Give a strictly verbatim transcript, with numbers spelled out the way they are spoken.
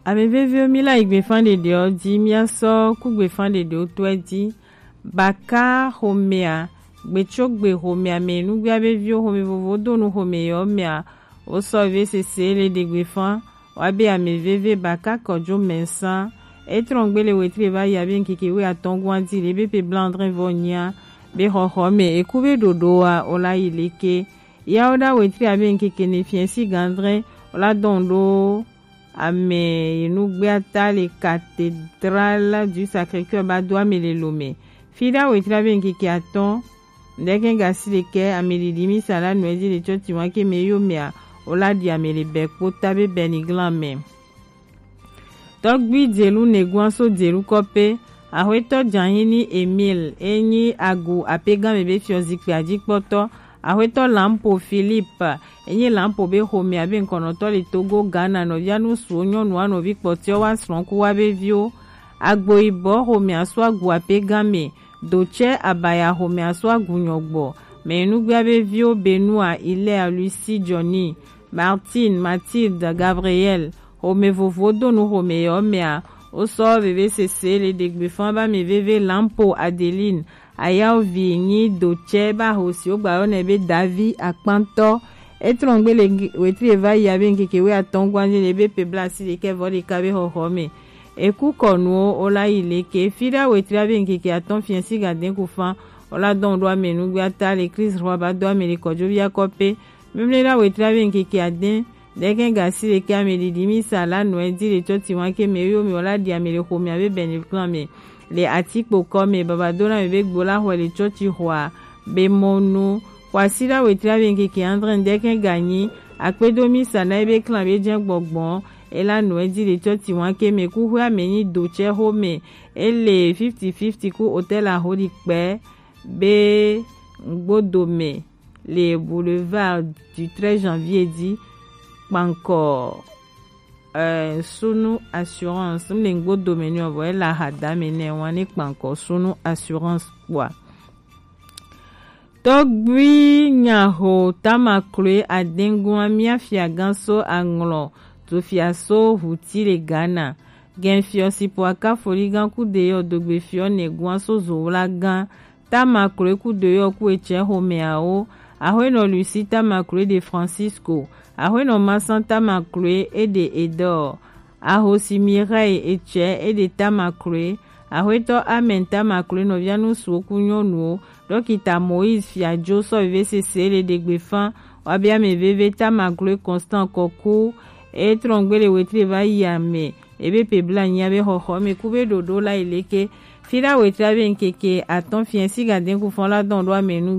Ame veviwo, mi la yi gbefan ɖeɖewo ji, mi asɔ ku gbefan ɖeɖewo tɔe ji. Baka xomea, gbetsogbe xomea me nugbe ave viwo xome vovo do nu xome yewo mea, wo sɔ veve sese le ɖe gbefan. Wa be ame veve Baka Kɔjo Mɛnsan, e trɔn gbe le wetri va yi abe ŋkeke wuiatɔn gɔn aji le be pe blanc dre vɔ nyia be xɔxɔ me eku be ɖoɖo wa o la yi leke. Yawo ɖa wetri abe ŋkeke ne fiɛ si gandre o la dɔn ɖo ame yi nugbea ta le Cathédrale du Sacré-Cœur ba do ame le Lomé. Fi ɖa wetri abe ŋkeke atɔn ŋdɛkɛ gasi ɖekɛ ame ɖiɖi misa la nɔɛ ji le tsɔtsi wa ke me yo mea o la ɖi ame le bɛ kpo ta be bɛ ni glan mɛ. Tɔgbui Dzelu Neguan so Dzelu kɔpe, Axwetɔ Djahini Emile e nyi agu apegame be fiɔ zikpui ajikpɔtɔ, Axwetɔ Lampo Philippe e nyi Lampo be xomea be ŋkɔnɔtɔ le Togo, Ghana, nɔvia nusuwo nyɔnua nɔvi kpɔtiɔ wa srɔ̃ku wa be viwo. Agboyibɔ xomea so agu apegame, Dotsɛ Abaya xomea so agu nyɔgbɔ, mɛ nugbea be viwo Benua, Hilaire, Lucie, Johnny, Martine, Mathilde, Gabriel, xome vovowo do nu xome yewo mea, wo sɔ veve sese le ɖe gbefan ba mi veve Lampo Adeline, Ayawo vi nyi Dotsɛ ba ho si wo gba yɔ nɛ be Davi Akpantɔ. E trɔn gbe le wetri e va yi abe ŋkeke wuiatɔn gɔn aji le be pe bla si ɖekɛ vɔ ɖeka be xɔxɔ me. Eku kɔnuwo o la yi leke fi ɖa wetri abe ŋkeke atɔn fiɛ si gadɛn ku fan o la dɔn ɖo ame nugbea ta le Kristo xɔ ba do ame le kɔjo via kɔpe. Mimle ɖa wetri abe ŋkeke adɛn ɖɛkɛ gasi ɖekɛ ame ɖiɖi misa la nɔɛ ji le tsɔtsi wa ke me yo me o la ɖi ame le xomea be bɛnɛ klan me le atikpo kɔ me babadona me be gbo la xɔe le tsɔtsi xɔa be mɔnu. Xɔasi ɖa wetri abe ŋkeke andre ɖɛkɛ ganyi akpedo misa na ebe klan be jɛ gbɔgbɔn e la nɔɛ ji le tsɔtsi wa ke me ku xɔe ame nyi Dotsɛ xome e le fifty fifty ku hotel aho ɖi kpɛ be ŋgbodo me le boulevard du treize janvier ji kpankɔ eh, Sunu Assurance. M le ŋgbodo me ni o vɔ e la hada me nɛ wa ne kpankɔ Sunu Assurance kpɔa. Tɔgbui nyaho tamakloe adengun amia fiagan so aŋlɔ tufia so huti le Ghana. Gɛnfiɔ si po aka foligan ku deyɔ dogbe fiɔ nɛgun aso zowlagan tamakloe ku deyɔ ku etsɛ homeawo. Ahoenɔ Lucie tamakloe de Francisco. Ahoenɔ Masan tamakloe e de Edor. Ahosi Mireille etsɛ e de tamakloe. Ahoetɔ Amen tamakloe nɔvia nusuwo ku nyɔnuwo. Dɔkita Moïse Fiadzo sɔ veve sese le ɖegbe fan. Wa be ame veve tamakloe Constant Kɔku. E trɔn gbe le wetri va yi ame. Ebe pe bla nyia be xɔxɔ me ku be ɖoɖo la yi leke. Fi ɖa wetri abe ŋkeke atɔn fiɛ si gadɛn ku fɔn la dɔn ɖo ame nu